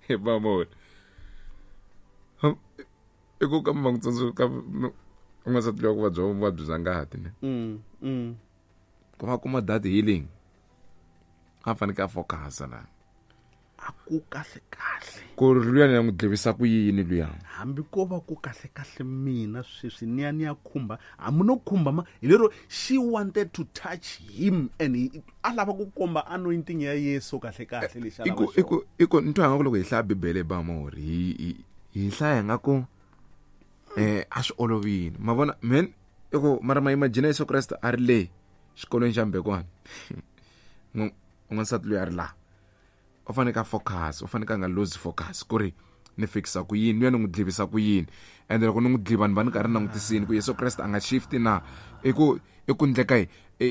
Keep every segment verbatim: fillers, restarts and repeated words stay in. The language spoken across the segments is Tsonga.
Hi vamona i ku ka ma n'wi tsundzuka n'wansati loyi ku vabya vuvabyi bya ngati ne Mm, mm. ku va kuma that healing a fanekele a focus la A ku kahle kahle ku ri luya ni ya n'wi dlivisa ku yini luya hambi ko va ku kahle kahle mina sweswi ni ya ni ya khumba hambi no khumba ma hi lero she wanted to touch him and he, a lava ku komba anointing ya Yesu kahle kahle lexi a i lava ku i xona. ku i ku ni twa nga ku loko hi hlaya bibele ba mori hi hi- hi hlaya nga ku eh a swi olovile ma vona man i ku mara ma imagine Yesu Kreste a ri le xikolweni xa mbekwana n'wansati loyi a ri laha u faneke a focus u faneke a nga lose focus ku ri ni fikisa ku yini luya ni n'wi dlivisa ku yini ende loko ni n'wi dliva ni va ni karhi ni langutisini ku Yesu Kreste a nga shift na i ku i ku ndleka yi i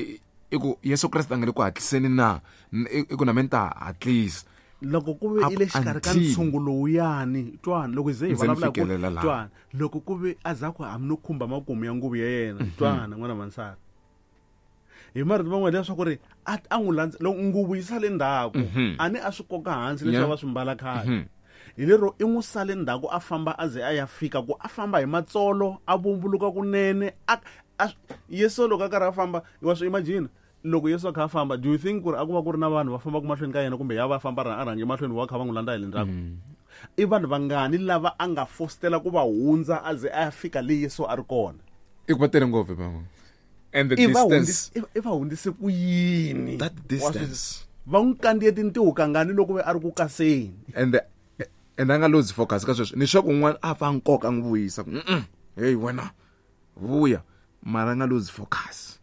i ku Yesu Kreste a nga le ku hatliseni na N- i i ku na me ni ta hatlisa loko ku ve Up i le xikarhi ka until- ntshungu lowuyani twani loko hi ze hi Ndzi ni vulavula hi ku fikelela laha. twani loko ku ve a za ku hambi no khumba makumu ya nguvu ya yena twana n'wana vansati hi marito man'wana leswaku ri a a n'wi landza loko nguvu yi sale ndzhaku a ni a swi koka hansi leswi Yeah. a va swi mbala khale hi lero i n'wi sale ndzhaku a famba a ze a ya fika ku a famba hi matsolo a vumbuluka kunene a a Yesu loko a karhi a famba wa swi imagine loko Yesu a kha a famba do you think ku ri a ku va ku ri na vanhu va fambaka mahlweni ka yena kumbe ya va famba a rhange mahlweni va kha va n'wi landza hi le ndzhaku i vanhu vangani lava a nga fostela ku va hundza a ze a ya fika le Yesu a ri kona i ku va tele ngopfu ba and the i va distance hundzise i va hundzise ku yini that distance va n'wi kandziye tintiho kangani loko ve a ri ku kaseni and the, and a nga lose focus ka sweswo ni swa ku un'wana a pfa nkoka a n'wi vuyisa ku mm hey wena vuya mara a nga lose focus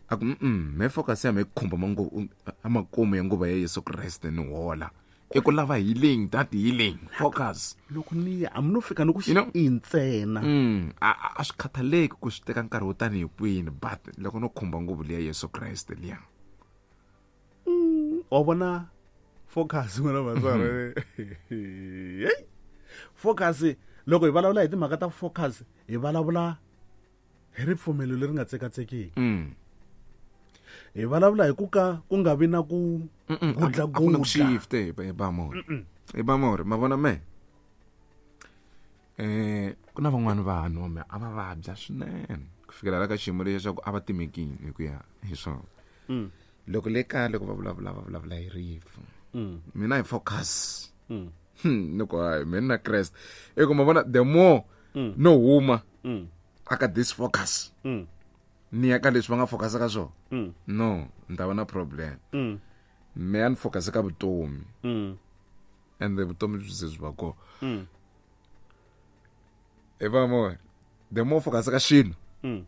a ku mm me focus ya me khumba manguva amakumu ya nguva ya Yesu Kreste ni hola i ku lava healing that healing focus loko ni ya hambi no fika ni ku You know- i ntsena mm a a- a swi khathaleki ku swi teka nkarhi wo tanihi kwini but loko no khumba nguvu liya Yesu Kreste liya wa vona focus n'wina vatswari hey focus loko hi vulavula hi timhaka ta focus hi vulavula hi ripfumelo leri nga tsekatsekiki mm hi vulavula hi ku ka ku nga vi na ku a ku na ku gudlagudla shift hi ba mori hi ba mori ma vona me eh ku na van'wani vanhu me a va vabya swinene ku fikela la ka xiyimo lexi xa ku a va timekini hi ku ya hi swona Mm. loko le kaya loko va vulavula va vulavula hi rifu Mm. mina hi focus Mm. Hmm, ni ku hayi mina na Kreste i ku ma vona the more Mm. no huma Mm. aka this focus Mm. ni ya ka leswi va nga focus ka swona Mm. no ni ta va na problem Mm. me a ni focus ka vutomi Mm. ende vutomi byi ze byi va kona Mm. hi va mo the more focus ka xilo Mm.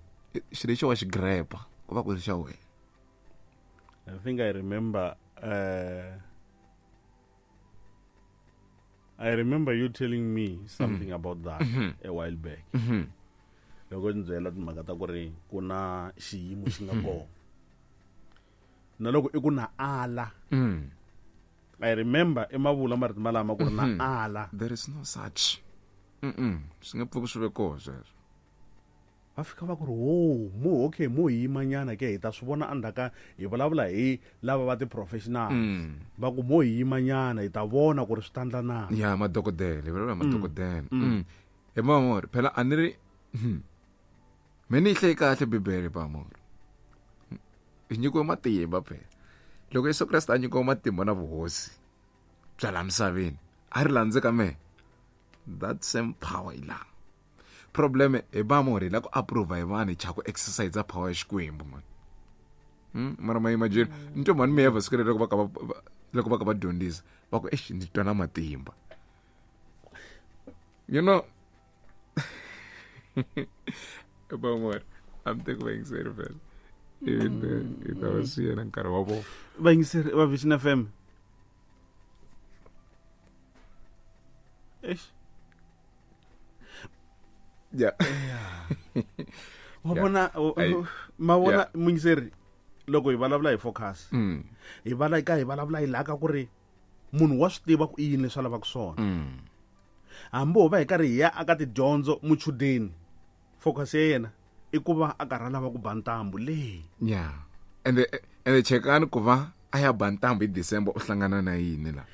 xilo lexi wa xi grepa ku va ku ri xa wena I think I remember uh, I remember you telling me something mm. about that mm -hmm. a while back. Mm -hmm. Loko ni byela timhaka ta ku ri ku na xiyimo xi nga kona. Na loko i ku na ala. Mm. I remember i mavula marito malama ku ri na ala. There is no such. Mm swi nga pfuki swi ve kona sweswo. Va fika va ku ri ho mo okay mo hi yimanyana ke hi ta swi vona endzhaku hi vulavula hi lava va ti-professional Mm. va ku mo hi yimanyana hi ta vona ku ri swi ta ndla na Ya madokodela, hi vulavula hi madokodela. Mm. Hi mamori, phela a ni ri hmm. Me ni yi hlayi kahle Bibele pamori. Hi nyikiwe matimba phela. Loko Yesu Kreste a nyikiwe matimba na vuhosi bya laha misaveni, a ri landze ka mehe. That same power yi laha. Problem hi vamori hi la ku approve hi vanhu hi chava ku exercise power ya Xikwembu man. Hmm? Mara ma imagine ni twa mhani mi siku loko va ka va va- loko va ka va dyondzisa va ku exi ni twa na matimba. You know Vamori a mi teki vayingiseri phela. Even hi ta va siya na nkarhi wa vona. Vayingiseri va Vision F M. Eish. Yeah. Wa Yeah. vona Ai. ma vona Yeah. muyingiseri loko hi vulavula hi focus Mm. hi vala ka hi vulavula hi laha ka ku ri munhu wa swi tiva ku i yini leswi a lavaka swona Mm. hambi ho va hi karhi hi ya aka tidyondzo muchudeni focus ya yena i ku va a karhi a lava ku ba ntambu leyi Yeah. Ende ende chekani ku va a ya ba ntambu hi December u hlangana na yini la.